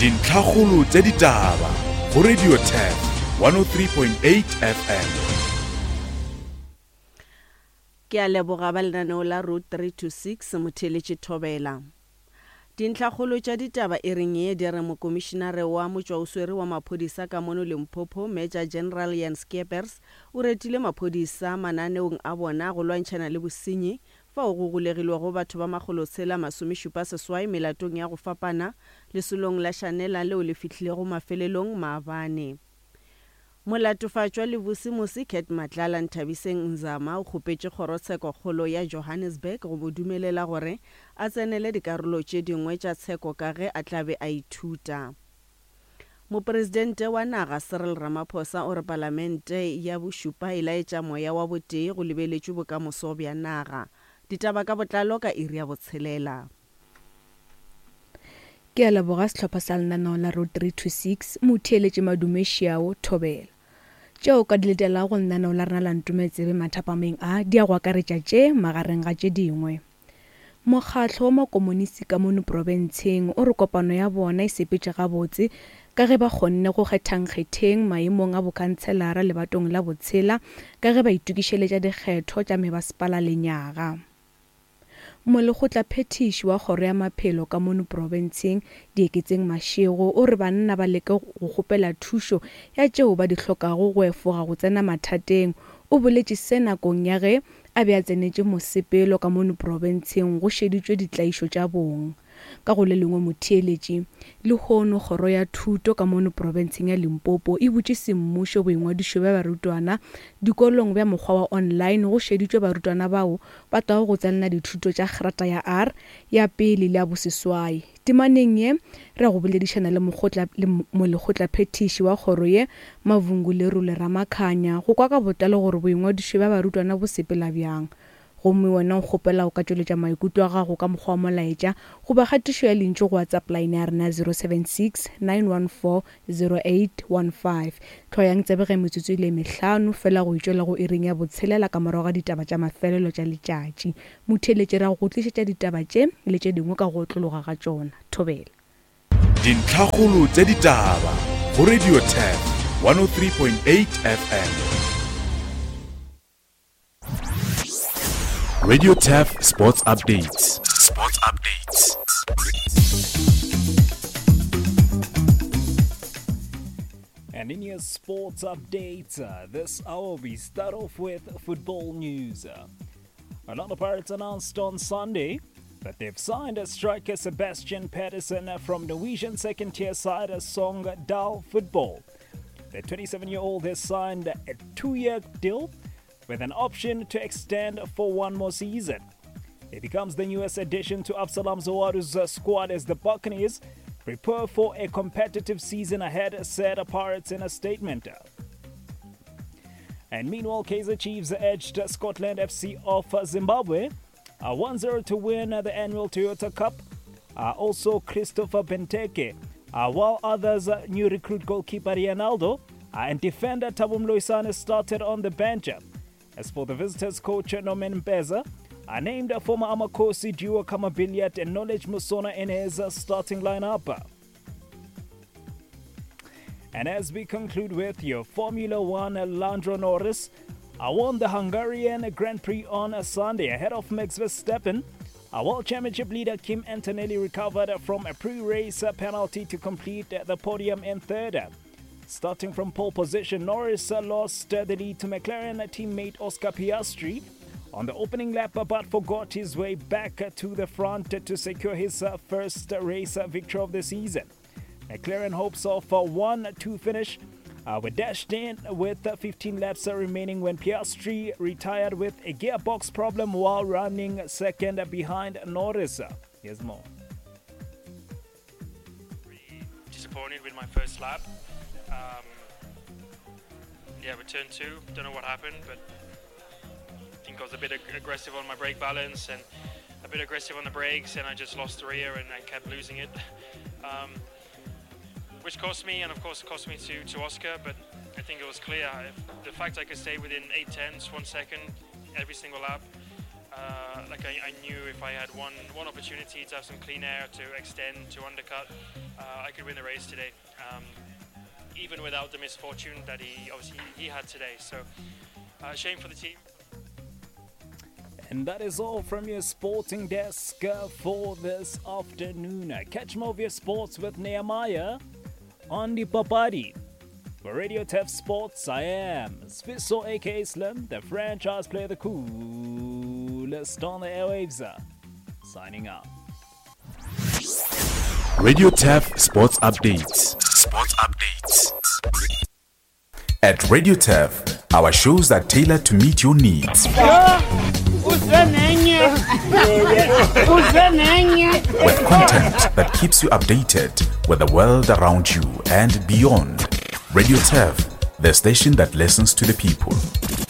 Dintlhakgolo tša ditaba go Radio Turf 103.8 FM. Ke a leboga ba lenaneo la Road 3 to 6, Motheeletši Thobela. Dintlhakgolo tša ditaba e reng ye di re Mokomišinare wa Motšwaoswere wa Maphodisa ka mono Limpopo, Major General Jan Scheepers, o retile maphodisa mananeong a bona go lwantšhana le bosenyi fao go golegilwego batho ba makgolotshela masomešupa seswai melatong ya go fapana lesolong la Shanela leo le fihlilego mafelelong maabane. Molatofatšwa Levusimusi Cat Matlala Nthabiseng Nzama o kgopetše Kgorotshekokgolo ya Johannesburg go mo dumelela gore a tsenele dikarolo tše dingwe tša tsheko ka ge a tla be a ithuta. Mopresidente wa naga Cyril Ramaphosa o re palamente ya bošupa e laetša moya wa botee go lebeletšwe bokamoso bja naga. Ditaba ka botlalo ka iri ya botshelela. Ke a leboga sehlopha sa lenaneo la Road 3 to 6, Motheeletši Madume Šiao, Thobela. Tšeo o ka di letelago go lenaneo la rena la Ntume Tsebe mathapameng a di a go akaretša tše magareng ga tše dingwe. Mokgatlo wa Makomonisi ka mono profenseng o re kopano ya bona e sepetše gabotse ka ge ba kgonne go kgetha nkgetheng maemong a bokhanselara lebatong la botshela ka ge ba itokišeletša dikgetho tša mebasepala lenyaga. Molekgotlaphethiši wa Kgoro ya Maphelo ka mono profenseng, Dieketseng Mashego, o re banna ba leke go kgopela thušo ya tšeo ba di hlokago go efoga go tsena mathateng. O boletše se nakong ya ge a be a tsenetše mosepelo ka mono profenseng go šeditšwe ditlaišo tša bong. Ka go le lengwe motheeletši, lehono Kgoro ya Thuto ka mono profenseng ya Limpopo e butše semmušo boingwadišo bja barutwana dikolong bja mokgwa wa online go šeditšwe barutwana bao ba tlago go tsenela dithuto tša Grata ya R ya pele le ya boseswai. Temaneng ye, re ya go boledišana le mokgotla le molekgotlaphethiši wa kgoro ye, Mavhungu Lerole Ramakhanya, go kwa ka botlalo gore boingwadišo bja barutwana bo sepela bjang. Gomme wena o kgopela o ka tšweletša maikutlo a gago ka mokgwa wa molaetša goba kgatišo ya lentšu go WhatsApp line ya rena ya 076 914 0815. Hloyang tsebe ge metsotso e le mehlano fela go itšwela go iring ya botshelela ka morago ga ditaba tša mafelelo tša letšatši. Motheeletši re ya go go tlišetša ditaba tše le tše dingwe ka go otlologa ga tšona. Thobela. Dintlhakgolo tša ditaba go Radio Turf 103.8 FM. Radio Turf Sports Updates. Sports Updates. And in your sports updates, uh, this hour we start off with football news. Uh, Orlando Pirates announced on Sunday that they've signed a striker Sebastian Pedersen from Norwegian second tier side Sogndal Football. The 27 year old has signed a two year deal with an option to extend for one more season. He becomes the newest addition to Absalom Zawaru's squad as the Buccaneers prepare for a competitive season ahead, said Pirates in a statement. And meanwhile, Kaizer Chiefs edged Scotland FC of Zimbabwe 1 0 to win the annual Toyota Cup. Uh, also, Christopher Benteke, uh, while others, uh, new recruit goalkeeper Ronaldo and defender Thabo Moloisane started on the bench. As for the visitors, coach Norman Mpeza named former Amakhosi duo Khama Billiat and Knowledge Musona in his starting lineup. And as we conclude with your Formula One, Lando Norris I won the Hungarian Grand Prix on Sunday ahead of Max Verstappen. Our World Championship leader Kim Antonelli recovered from a pre-race penalty to complete the podium in third. Starting from pole position, Norris lost the lead to McLaren teammate Oscar Piastri on the opening lap, but forgot his way back to the front to secure his first race victory of the season. McLaren hopes of a 1 2 finish uh, were dashed in with 15 laps remaining when Piastri retired with a gearbox problem while running second behind Norris. Here's more. Disappointed with my first lap. Um, yeah, return two. Don't know what happened, but I think I was a bit ag aggressive on my brake balance and a bit aggressive on the brakes, and I just lost the rear and I kept losing it. Um, which cost me, and of course it cost me to, to Oscar, but I think it was clear. If the fact I could stay within 8 tenths, one second, every single lap, Uh, like I, I, knew if I had one one opportunity to have some clean air to extend to undercut, uh, I could win the race today. Um, even without the misfortune that he obviously he had today. So, uh, shame for the team. And that is all from your sporting desk uh, for this afternoon. Catch more of your sports with Nehemiah on the Papadi. For Radio Tef Sports, I am Sviso aka Slim, the franchise player, the coolest on the airwaves. Signing out. Radio Tef Sports Updates. Sports Updates. At Radio Tef, our shows are tailored to meet your needs. With content that keeps you updated with the world around you and beyond. Radio Tef, the station that listens to the people.